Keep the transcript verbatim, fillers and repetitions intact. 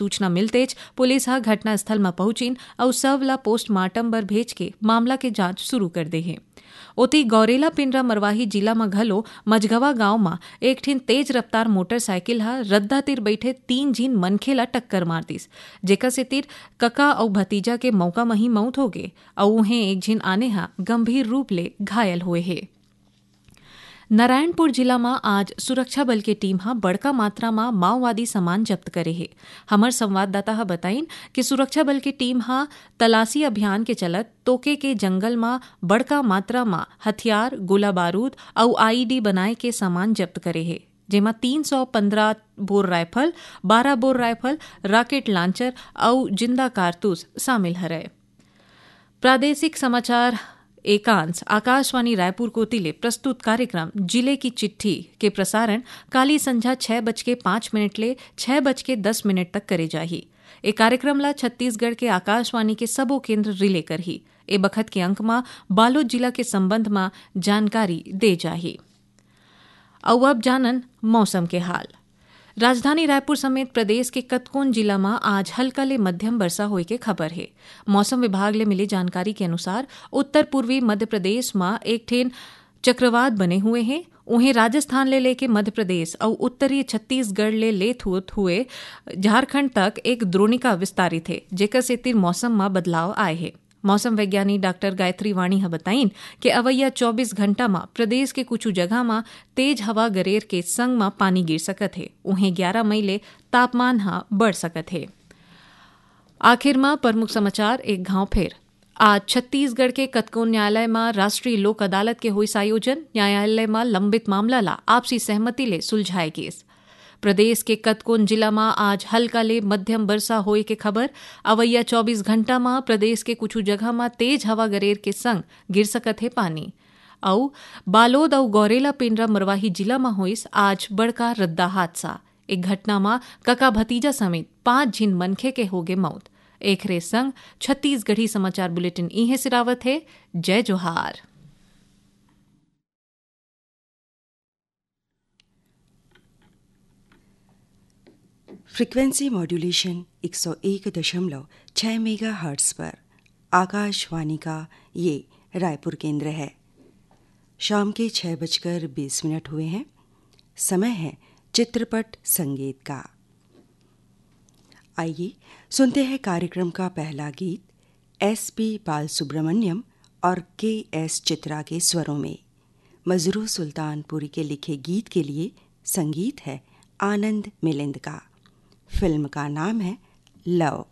सूचना मिलतेच पुलिस ह घटनास्थल म पहुंचिन अउ शव ल पोस्टमार्टम बर भेज के मामला के जांच शुरू कर दे हे। ओती गौरेला पेंड्रा मरवाही जिला म घलो मझगवा गांव म एक ठिन तेज रफ्तार मोटरसाइकिल ह रद्दा तीर बइठे तीन झिन मनखे ल टक्कर मार दिस, जेकर सेतिर कका अउ भतीजा के मौका म ही मौत हो गे अउ उहें एक झिन आने ह गंभीर रूप ले घायल होए हे। नारायणपुर जिला म आज सुरक्षा बल के टीम ह बड़का मात्रा म माओवादी सामान जब्त करे हे। हमर संवाददाता ह बताइन कि सुरक्षा बल के टीम ह तलाशी अभियान के चलत तोके के जंगल म बड़का मात्रा म हथियार, गोला बारूद अउ आईईडी बनाए के सामान जब्त करे हे, जेमा तीन सौ पंद्रह बोर राइफल, बारह बोर राइफल, रॉकेट लॉन्चर अउ जिंदा कारतूस शामिल हरय। प्रादेशिक समाचार एकांश आकाशवाणी रायपुर कोति ले प्रस्तुत कार्यक्रम जिले की चिट्ठी के प्रसारण काली संझा छह बज के पाँच मिनट ले छह बज के दस मिनट तक करे जाही। ए कार्यक्रम ला छत्तीसगढ़ के आकाशवाणी के सबो केंद्र रिले करही। ए बखत के अंक म बालोद जिला के संबंध म जानकारी दे जाही। अउ अब जानन मौसम के हाल। राजधानी रायपुर समेत प्रदेश के कतकोन जिला म आज हल्का ले मध्यम बरसा होए के खबर हे। मौसम विभाग ले मिली जानकारी के अनुसार, उत्तर पूर्वी मध्य प्रदेश म एक ठेन चक्रवात बने हुए हे। उहें, राजस्थान ले लेके मध्य प्रदेश अउ उत्तरी छत्तीसगढ़ ले लेत होत हुए झारखंड तक एक द्रोणिका विस्तारित हे, जेकर सेतिर मौसम म बदलाव आए हे। मौसम वैज्ञानी डॉक्टर गायत्री वाणी ह बताइन के अवइया चौबीस घंटा म प्रदेश के कुछ जगह म तेज हवा गरेर के संग म पानी गिर सकत हे। उहें, ग्यारह मई ले तापमान ह बढ़ सकत हे। आखिर म प्रमुख समाचार एक घाव फेर। आज छत्तीसगढ़ के कतकोन न्यायालय म राष्ट्रीय लोक अदालत के होइस आयोजन। न्यायालय म लंबित मामला ला आपसी सहमति ले सुलझाए गिस। प्रदेश के कतकोन जिला म आज हल्का ले मध्यम बरसा होए के खबर। अवइया चौबीस घंटा म प्रदेश के कुछ जगह म तेज हवा गरेर के संग गिर सकत हे पानी। अउ बालोद अउ गौरेला पेंड्रा मरवाही जिला म होइस आज बड़का रद्दा हादसा। एक घटना म कका भतीजा समेत पांच झिन मनखे के होगे मौत। एखरे संग छत्तीसगढ़ी समाचार बुलेटिन इहें सिरावत हे। जय जोहार। फ्रीक्वेंसी मॉड्यूलेशन एक सौ एक दशमलव छः मेगाहर्ट्ज़ पर आकाशवाणी का ये रायपुर केंद्र है। शाम के छः बजकर बीस मिनट हुए हैं। समय है चित्रपट संगीत का। आइए, सुनते हैं कार्यक्रम का पहला गीत एस पी बालसुब्रमण्यम और के एस चित्रा के स्वरों में। मजरूह सुल्तानपुरी के लिखे गीत के लिए संगीत है आनंद मिलिंद का। फिल्म का नाम है लव।